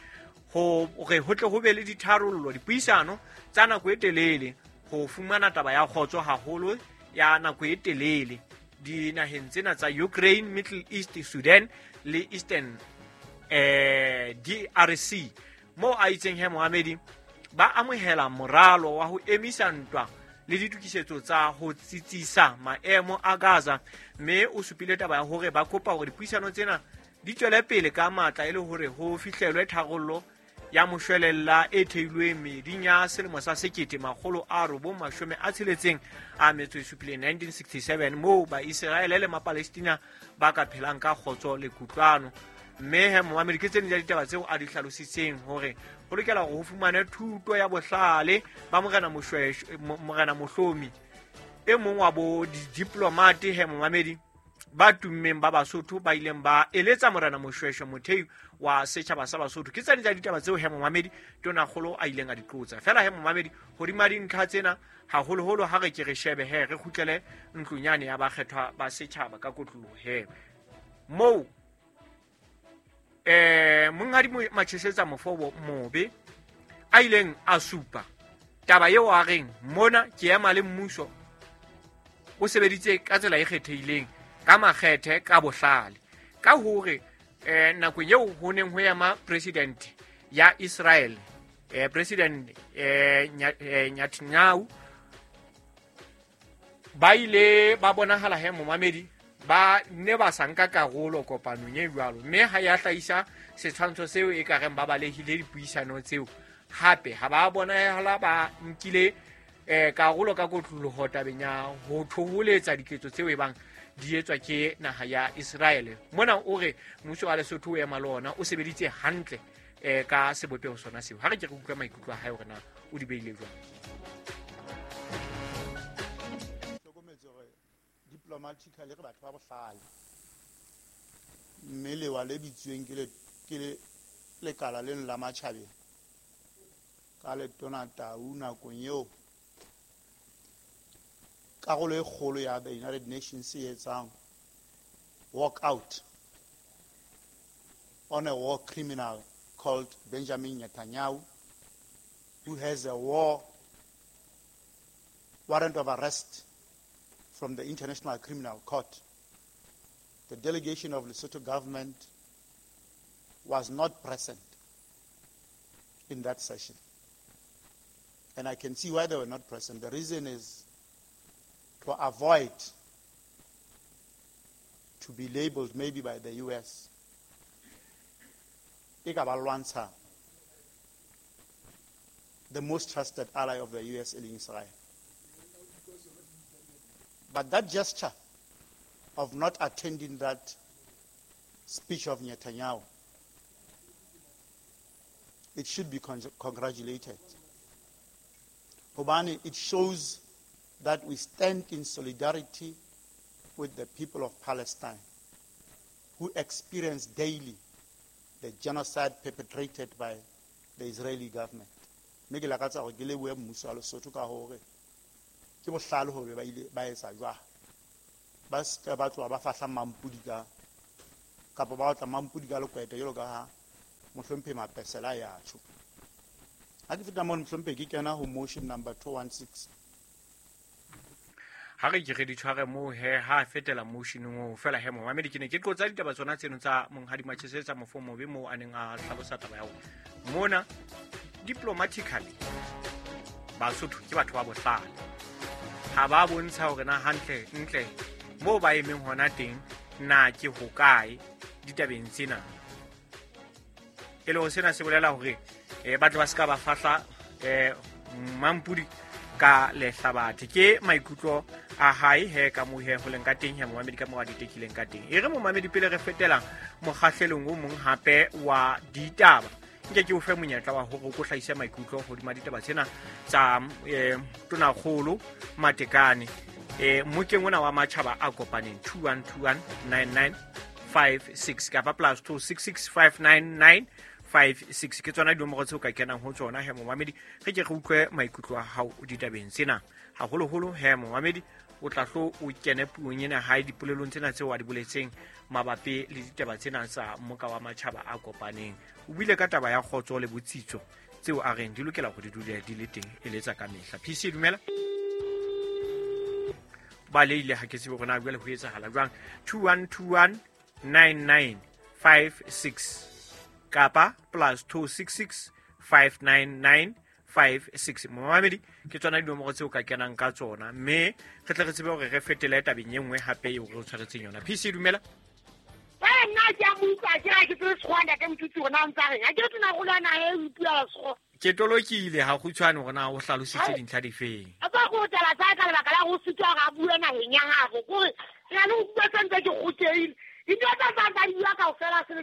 hore ho tle ho be le ditharollo, dipuisano tsa nako e telele ho fumana taba ya kgotso haholo ya nako e telele dinaheng tsena tsa Ukraine, Middle East, Sudan le Eastern DRC, moo a itseng he Mohamedi ba amohela moralo wa ho emisa ntwa le ditokisetso tsa ho tsitsisa maemo a Gaza, mme o supile taba ya hore ba kopa hore dipuisano tsena di tswele pele ka matla e le hore ho fihlelwe tharollo ya moshwelella e theilweng meeding ya selemo sa 1967 1967, moo Baiseraele le Mapalestina ba ka phelang ka kgotso le kutlwano. Mme he momamedi ke tse ding tsa ditaba tseo a di hlalositseng hore ho lokela hore ho fumane thuto ya bohlale ba morena morena Mohlomi, e mong wa bo didiplomate he momamedi ba tummeng ba Basotho ba ileng ba eletsa morena Moshweshwe mothei wa setjhaba sa Basotho. Ke tsane tsa ditaba tseo he momamedi tonakgolo a ileng a di qotsa. Fela he momamedi hodima dintlha tsena haholoholo ha re ke re shebe he re kgutlele ntlong yane ya bakgethwa ba setjhaba ka kotloloho he moo monghadi Machesetsa Mofobo Mobe a ileng a supa taba eo a reng mona ke ema le mmuso o sebeditse ka tsela e kgethehileng ka makgethe ka bohlale, ka hore nakong eo ho neng ho ema president ya Israel, president Netanyahu, ba ile ba bonahala he momamedi ba ne ba sa nka karolo kopanong e jwalo, mme ha ya hlahisa setshwantsho seo e ka reng ba balehile dipuisano tseo. Hape ha ba bonahala ba nkile karolo ka kotloloho tabeng ya ho thoholetsa diketso tseo e bang di etswa ke naha ya Israel. Mona o re mmuso wa Lesotho o ema le ona o sebeditse hantle ka sebopeho sona seo. Ha re ke re utlwa maikutlo a hae hore na o di beile jwang. Hlokometse hore diplomatically re batho ba bohlale, mme lewa le bitsweng ke lekala leno la matjhabeng ka letona Tau nakong eo karolo e kgolo ya the United Nations e etsang walk out on a war criminal called Benjamin Netanyahu, who has a war warrant of arrest from the International Criminal Court. The delegation of Lesotho government was not present in that session. And I can see why they were not present. The reason is to avoid to be labeled maybe by the US. The most trusted ally of the US in Israel. But that gesture of not attending that speech of Netanyahu, it should be congratulated. Hobane, it shows that we stand in solidarity with the people of Palestine who experience daily the genocide perpetrated by the Israeli government. Mme ke lakatsa hore ke lebohe mmuso wa Lesotho ka hore ke bohlale hore ba ile ba etsa jwang. Ba se ba tloha ba fahla mampudi ka kapa ba otla mampudi ka lekwete jwalo ka ha mohlomphehi Mapesela ya tjho. Ha ke feta mono mohlomphehi ke kena ho motion number 216. Ha re ke re di tshware moo he ha fetela motioneng oo fela he momamedi ke ne ke qotsa ditaba tsona tseno tsa monghadi Machesetsa Mofo Mobe moo a neng a hlalosa taba ya hore mona diplomatically Basotho ke batho ba bohlale, ha ba bontsha hore na hantle ntle moo ba emeng hona teng na ke hokae ditabeng tsena. E le ho sena se bolela hore ba tle ba ska ba fahla mampudi ka lehlabathe. Ke maikutlo a hae he ka mohe ho leng ka teng he momamedi ka mo a ditekileng ka teng. E re momamedi pele re fetelang mokgahlelong o mong hape wa ditaba, nke ke o fe monyetla wa hore o ko hlahise maikutlo hodima ditaba tsena tsa Tonakgolo Matekane mmokeng ona wa matjhaba a kopaneng 21219956 kapa +26659956 ke tsona dinomoro tseo ka kenang ho tsona he momamedi. Re ke re utlwe maikutlo a hao ditabeng tsena, haholoholo he momamedi o tla hlo o kene puong ena hae dipolelong tsena tseo a di boletseng mabapi le ditaba tsena tsa mmoka wa matjhaba a kopaneng. O buile ka taba ya kgotso le botsitso tseo a reng di lokela hore di dule di le teng e le tsa ka mehla. PC dumela ba leile ha ke tsebe hore na jwale ho etsahala jwang. 21219956 kapa +26659956. Momamedi ke tsona dinomoro tseo ka kenang ka tsona, mme re tle re tsebe hore re fetele tabeng e nngwe hape eo re o tshwaretseng yona. PC dumela. Nna ke a mo utlwa ke re ke tsebe Sekgowa ntate Motutsi hore na o ntsa reng. Ha ke re tona kgolo ya naha e o ipuela Sekgowa. Ke tolokile ha kgutshwane hore na o hlalositse dintlha difeng. A tsa go taba tsa ka lebaka la go sitwa hore a bue naheng ya gagwe. Kore ke na le ho utlwa se ntse ke kgothehile. Dintho tsa tsa di bua kaofela se le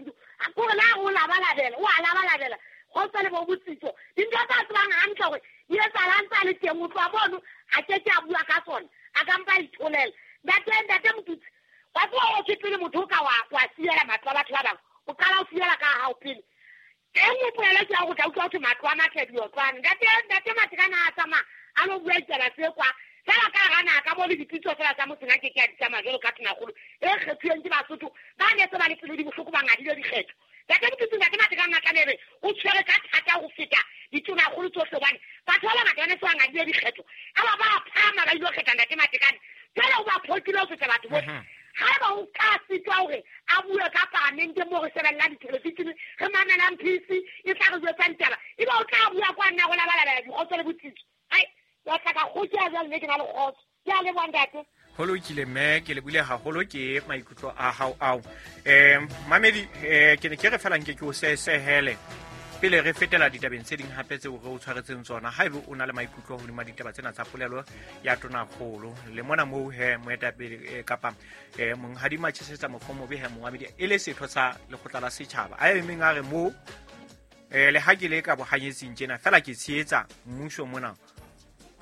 kore la go labalabela, o a labalabela. Kgotsa le bo botsitso. Dintho tsa tsebang hantle hore di etsahala ntse a le teng, o tloha mono a ke ke a bua ka tsona, a ka mpa itholela. Ntate Motutsi, wa tseba o ke pele motho o ka wa siela matlo a batho ba bang, o qala o siela ka hao pele. E nngwe polelo ke ya ho tla utlwa ho thwe matlo a matle diotlwane. Ntate Matekane ha a tsamaya a lo bua ditaba tse kwa fela ka hara naha ka mo le dipitso fela tsa motseng a ke ke a di tsamaya jwalo ka Tonakgolo e kgethuweng ke Basotho ba ne se ba le pelo di bohloko ba ngadile dikgetho. Ntate Motutsi, Ntate Matekane a tlameha ebe o tshwere ka thata ho feta ditonakgolo tsohle hobane batho ba bangata ba ne se ba ngadile dikgetho. A ba ba phahama ba ilo kgetha Ntate Matekane, jwale o ba phokile ho feta batho bohle. Haeba o ka sitwa hore a bue ka paramente moo re shebellang dithelevishene, re mamelang PC e tla re jwetsang taba, ebe o tla bua kwa nna go labalabela dikgotso le botsitso. Ai, wa tla ka kgotsa jwale mme ke na le kgotso. Ke a leboha ntate. Ho lokile mme, ke lebile haholo ke maikutlo a hao ao. Mamedi, ke ne ke re fela nke ke o sehele pele re fetela ditabeng tse ding hape tseo re o tshwaretseng tsona. Haebe o na le maikutlo hodima ditaba tsena tsa polelo ya Tonakgolo le mona moo he moetapele kapa monghadi Matjhesetsa Mofomobe he momamedi e le setho sa lekgotla la setjhaba a emeng a re moo le ha ke le ka bohanyetsing tjena fela ke tshehetsa mmuso mona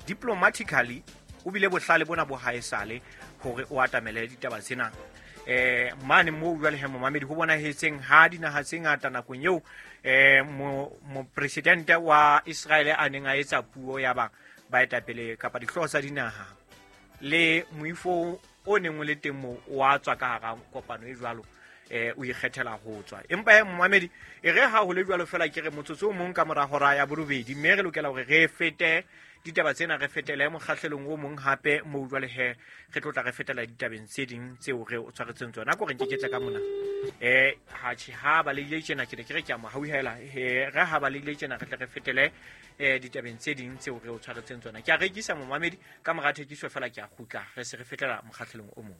diplomatically, o bile bohlale bona bo haesale hore o atamele ditaba tsena. Mane moo jwale he momamedi ho bonahetseng ha dinaha tse ngata nakong eo mopresidente wa Israel a neng a etsa puo ya ba baetapele kapa dihlooho tsa dinaha le moifo o neng o le teng moo wa tswa ka hara kopano e jwalo o ikgethela ho tswa. Empa he momamedi e re ha ho le jwalo fela ke re motsotso o mong ka mora hora ya borobedi, mme re lokela hore re fete ditaba tsena re fetele mokgahlelong o mong hape moo jwale he re tlo tla re fetela ditabeng tse ding tseo re o tshwaretseng tsona. Ko re nke ke tla ka mona ha tjhe ha ba le ile tjena ke ne ke re ke a mo hauhela re ha ba le ile tjena re tle re fetele ditabeng tse ding tseo re o tshwaretseng tsona. Ke a rekisa momamedi ka mora thekiso fela ke a kgutla re se re fetela mokgahlelong o mong.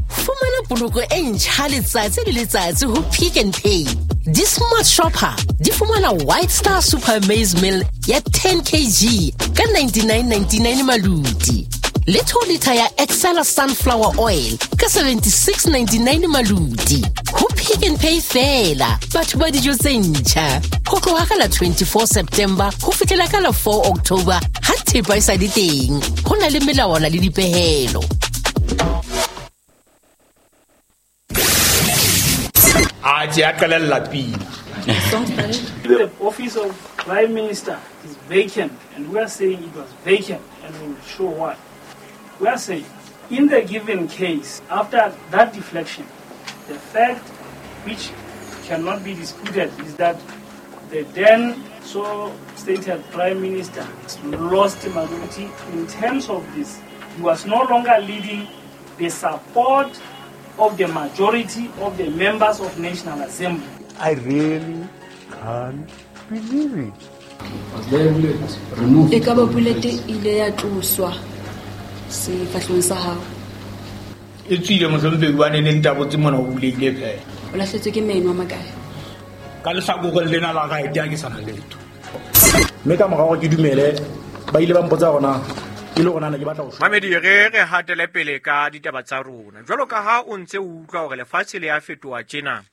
Fumana poloko e ntjha letsatsi le letsatsi ho Pick n Pay. Di-smart shopper di fumana White Star Super Maize Meal ya 10 kg ka 99.99 maluti. Le 2 liter ya Excella Sunflower Oil ka 76.99 maluti. Ho Pick n Pay fela batho ba dijo tse ntjha. Ho tloha ka la 24 September ho fihlela ka la 4 October ha thepa e sa le teng. Ho na le melawana le dipehelo. The office of Prime Minister is vacant, and we are saying it was vacant, and we will show why. We are saying, in the given case, after that deflection, the fact which cannot be disputed is that the then so stated Prime Minister lost the majority in terms of this. He was no longer leading the support of the majority of the members of National Assembly. I really can't believe it. E ka ba bullet ile ya tloswa sefahlehong sa hao. E tswile mohlomphehi hobane ne ntabotse mona o bulehile fela. O lahletswe ke meno a makae? Ka lehlakoreng lena la right ha ke sa na letho. Mme ka mora hore ke dumele, ba ile ba mpotsa hore na e le hore na ne ke batla ho shwa. Mamedi, re re hatele pele ka ditaba tsa rona. Jwalo ka ha o ntse o utlwa hore lefatshe le a fetoha tjena,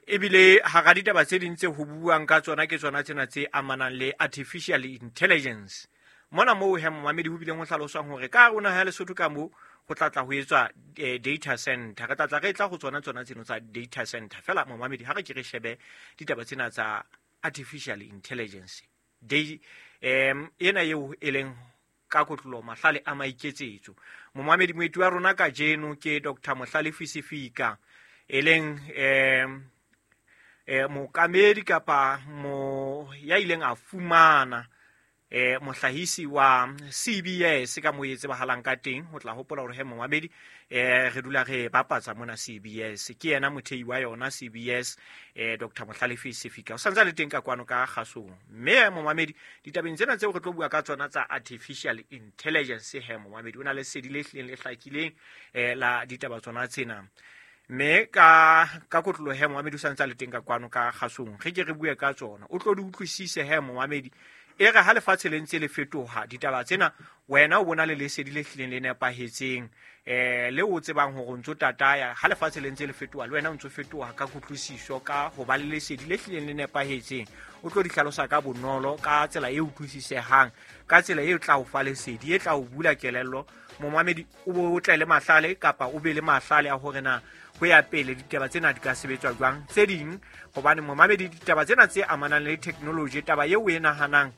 ebile hara ditaba tse ding tse ho buuwang ka tsona ke tsona tsena tse amanang le artificial intelligence. Mona moo he momamedi ho bileng ho hlaloswang hore ka hare ho naha ya Lesotho ka moo ho tla tla ho etswa data center. Re tla tla re tla ho tsona tsona tseno tsa data center. Feela momamedi ha re ke re shebe ditaba tsena tsa artificial intelligence. Ena eo e leng ka kotlolo mahlale a maiketsetso. Momamedi moeti wa rona kajeno ke Dr. Mohlalefi Sefika, e leng mookamedi kapa mo ya ileng a fumana mohlahisi wa CBS ka moo e tsebahalang ka teng. Ho tla hopola hore he momamedi re dula re bapatsa mona CBS, ke yena mothei wa yona CBS, Dr. Mohlalefi Sefika o santse a le teng ka kwano ka kgasong. Mme momamedi ditabeng tsena tseo re tlo bua ka tsona tsa artificial intelligence, he momamedi o na le sedi le hlileng le hlakileng la ditaba tsona tsena. Mme ka kotlolo he momamedi o santse a le teng ka kwano ka kgasong, re ke re bue ka tsona, o tlo di utlwisise he momamedi. E re ha lefatshe le ntse le fetoha ditaba tsena, wena o bona le lesedi le hlileng le nepahetseng, le o tsebang hore o ntso tataya. Ha lefatshe le ntse le fetoha, le wena o ntso fetoha ka kutlwisiso, ka ho ba le lesedi le hlileng le nepahetseng. O tlo di hlalosa ka bonolo, ka tsela e utlwisisehang, ka tsela e tla o fa lesedi, e tla o bula kelello. Momamedi o bo o tle le mahlale kapa o be le mahlale a hore na ho ya pele ditaba tsena di ka sebetswa jwang tse ding, hobane momamedi ditaba tsena tse amanang le technology, taba eo o e nahanang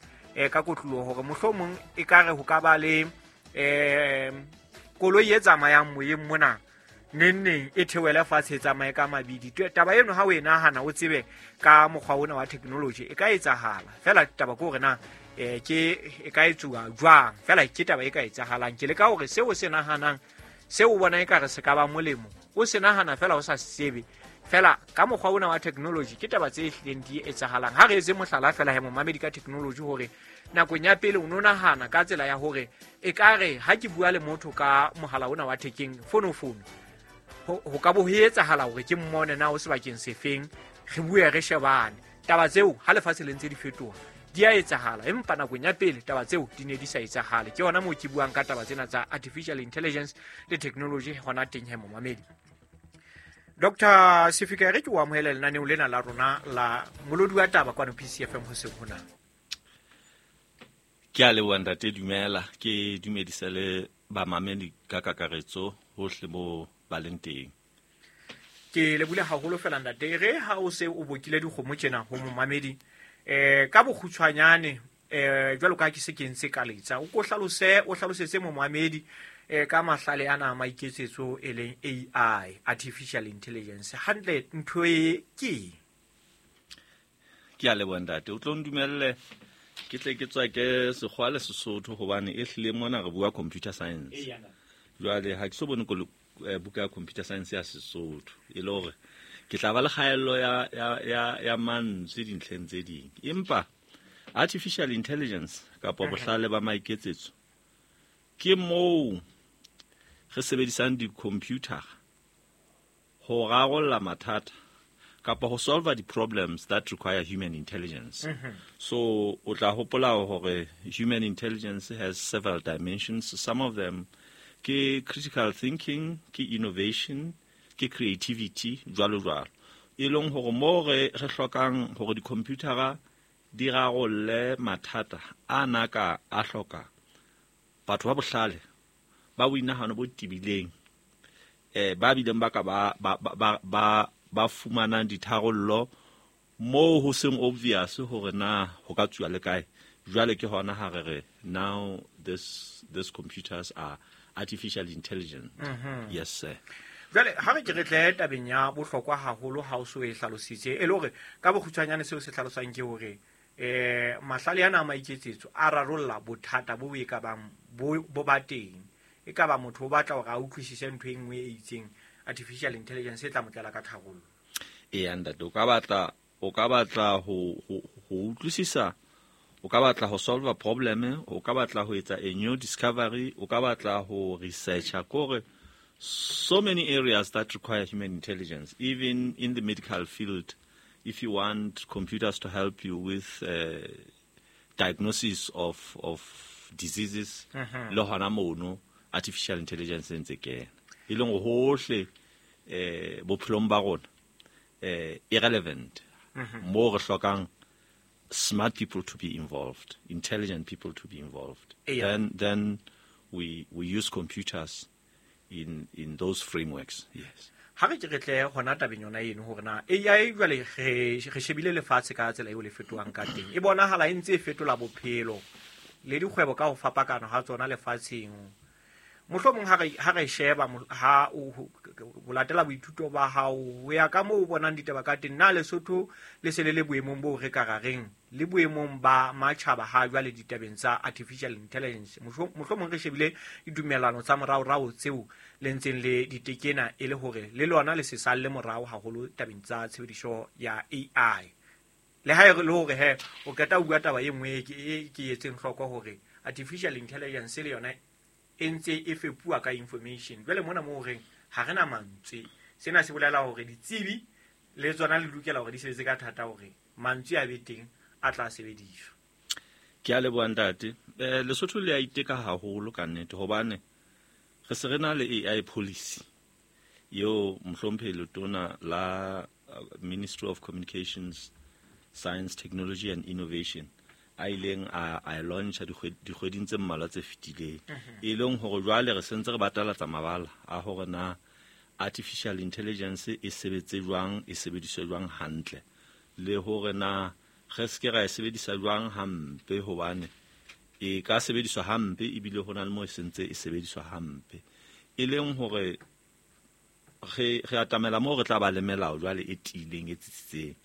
ka kotloloho hore mohlomong e ka re ho ka ba le koloi e tsamayang moyeng mona neng neng e theohele fatshe e tsamaye ka mabidi. Taba eno ha o e nahana o tsebe ka mokgwa ona wa technology e ka etsahala. Feela taba ke hore na ke e ka etsuwa jwang, feela ke taba e ka etsahalang. Ke leka hore seo o se nahanang, seo o bona ekare se ka ba molemo, o se nahana feela o sa se tsebe. Feela ka mokgwa ona wa technology ke taba tse hlileng di etsahalang. Ha re etse mohlala feela he momamedi ka technology, hore nakong ya pele o no nahana ka tsela ya hore ekare ha ke bua le motho ka mohala ona wa thekeng, fono, ho ka bo ho etsahala hore ke mmone na o sebakeng sefeng, re bue re shebane. Taba tseo ha lefatshe le ntse di fetoha di a etsahala, empa nakong ya pele taba tseo di ne di sa etsahale. Ke hona moo ke buang ka taba tsena tsa artificial intelligence le technology hona teng he momamedi. Dr. Sefika, re ke o amohele lenaneo lena la rona la molodi wa taba kwano PCFM hoseng hona. Ke a leboha ntate, dumela. Ke dumedise le bamamedi ka kakaretso hohle mo ba leng teng. Ke lebule haholo fela ntate. Re ha o se o bokile dikgomo tjena ho momamedi, ka bokgutshwanyane, jwalo ka ha ke se ke ntse ka letsa, o ko hlalose, o hlalosetse momamedi ka mahlale ana a maiketsetso e leng AI, artificial intelligence. Hantle ntho e ke eng? Ke a leboha ntate. O tlo ndumelle ke tle ke tswa ke Sekgowa le Sesotho, hobane e hlile mona re bua computer science. Jwale ha ke so bone buka ya computer science ya Sesotho, e le hore ke tla ba le kgaello ya mantswe dintlheng tse ding. Empa artificial intelligence kapa bohlale ba maiketsetso ke moo re sebedisang di-computer ho rarolla mathata kapa ho solve the problems that require human intelligence. So o tla hopola hore human intelligence has several dimensions. Some of them ke critical thinking, ke innovation, ke creativity, jwalo jwalo. E leng hore mo re hlokang hore di-computera di rarolle mathata a na ka a hloka batho ba bohlale, ba boinahano bo tebileng, ba bileng ba ka ba fumanang ditharollo moo ho seng obvious hore na ho ka tsuwa le kae. Jwale ke hona ha re re now this computers are artificial intelligent. Yes sir. Jwale ha re ke re tle tabeng ya bohlokwa haholo ha o so e hlalositse, e le hore ka bokgutshwanyane seo se hlalosang ke hore mahlale ana a maiketsetso a rarolla bothata bo e ka bang bo ba teng. E ka ba motho o batla hore a utlwisise ntho e nngwe e itseng, artificial intelligence e tla mo tlela ka tharollo. Eya ntate, o ka batla ho utlwisisa, o ka batla ho solve a problem, o ka batla ho etsa a new discovery, o ka batla ho researcha, kore So many areas that require human intelligence, even in the medical field. If you want computers to help you with diagnosis of diseases, le hona mono artificial intelligence e ntse kena, e leng hohle bophelong ba rona irrelevant. Mo re hlokang smart people to be involved, intelligent people to be involved. Then we use computers in those frameworks. Yes. Ha re ke re tle hona tabeng yona eno hore na AI jwale re shebile lefatshe ka tsela eo le fetohang ka teng. E bonahala e ntse e fetola bophelo le dikgwebo ka ho fapakana ha tsona lefatsheng. Mohlomong ha re sheba ha o latela boithuto ba hao ho ya ka moo o bonang ditaba ka teng, na Lesotho le se le le boemong bo re ka rareng le boemong ba matjhaba ha jwale ditabeng tsa artificial intelligence? Mohlomong re shebile ditumellano tsa moraorao tseo le ntseng le ditekena e le hore le lona le se salle morao haholo tabeng tsa tshebediso ya AI. Le ha e le hore he o qeta o bua taba e nngwe e ke etseng hloko hore artificial intelligence le yona e ntse e fepuwa ka information. Jwale mona moo reng ha re na mantswe, sena se bolela hore ditsebi le tsona le lokela hore di sebetse ka thata hore mantswe a be teng a tla sebediswa. Ke a leboha ntate. Lesotho le a iteka haholo ka nnete, hobane re se re na le AI policy eo mohlomphehi letona la Ministry of Communications, Science, Technology and Innovation a ileng a launcha dikgweding tse mmalwa tse fetileng, e leng hore jwale re sentse re batalatsa mabala a hore na artificial intelligence e sebetse jwang, e sebediswe jwang hantle, le hore na re se ke ra e sebedisa jwang hampe, hobane e ka sebediswa hampe ebile ho na le moo e sentse e sebediswa hampe. E leng hore re atamela moo re tla ba le melao jwale e tiileng, e tsitsitseng,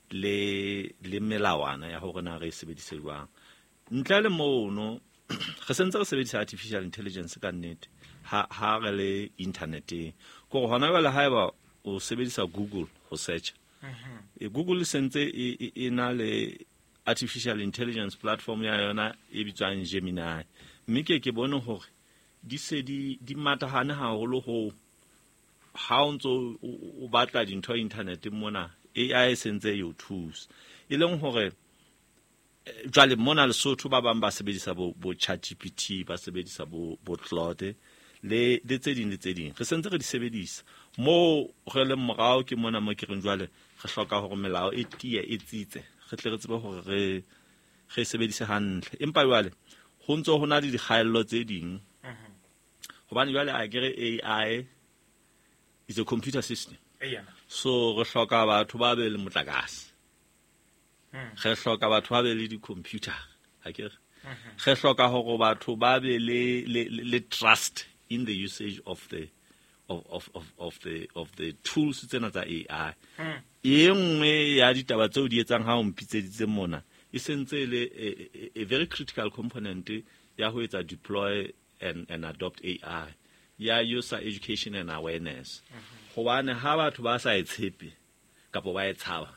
le melawana ya hore na re e sebedise jwang. Ntle le mono re sentse re sebedisa artificial intelligence ka nnete ha re le interneteng. Kore hona jwale haeba o sebedisa Google ho search, Google sentse e na le artificial intelligence platform ya yona e bitswang Gemini, mme ke bone hore di se di matahane haholo ho ha o ntso o batla dintho interneteng mona, AI sentse e o thusa. E leng hore jwale mona Lesotho ba bang ba sebedisa bo ChatGPT, ba sebedisa bo Claude le tse ding le tse ding. Re sentse re di sebedisa. Moo re leng morao ke mona mo ke reng jwale re hloka hore melao e tiye, e tsitse, re tle re tsebe hore re sebedise hantle. Empa jwale ho ntso ho na le dikgaello tse ding, hobane jwale a ke re AI is a computer system. So re hloka batho ba be le motlakase, re hloka batho ba be le di-computer, ha ke re re hloka hore batho ba be le trust in the usage of the of the tools tsena tsa AI. E nngwe ya ditaba tseo di etsang ha o mpitseditse mona e sentse le a very critical component ya ho etsa deploy and adopt AI ya user education and awareness. Hobane ha batho ba sa e tshepe kapa ba e tshaba,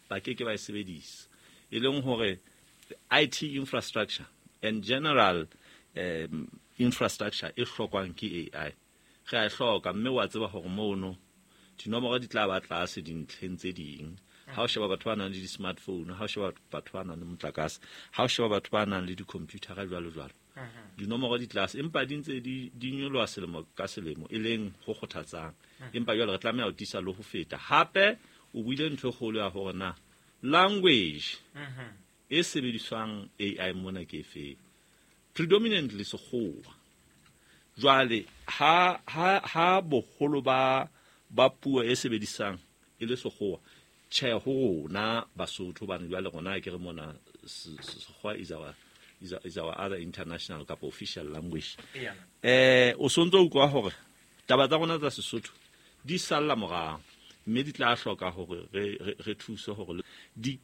ba ke ke ba e sebedisa. E leng hore IT infrastructure and general infrastructure e hlokwang ke AI re a e hloka, mme wa tseba hore mono dinomoro di tla ba tlase dintlheng tse ding. Ha o sheba batho ba nang le di-smartphone, ha o sheba batho ba nang le motlakase, ha o sheba batho ba nang le di-computer jwalo jwalo, dinomoro di tlase, empa di ntse di nyoloha selemo ka selemo, e leng ho kgothatsang. Empa jwale re tlameha ho tiisa le ho feta. Hape o buile ntho e kgolo ya hore na language e sebediswang AI mona ke efe, predominantly Sekgowa. Jwale ha boholo ba puo e sebedisang e le Sekgowa, tjhe ho rona Basotho, hobane jwale rona ke re mona Sekgowa is our other international kapa official language. O sontso utlwa hore taba tsa rona tsa Sesotho di salla morao, mme di tla hloka hore re thuse hore di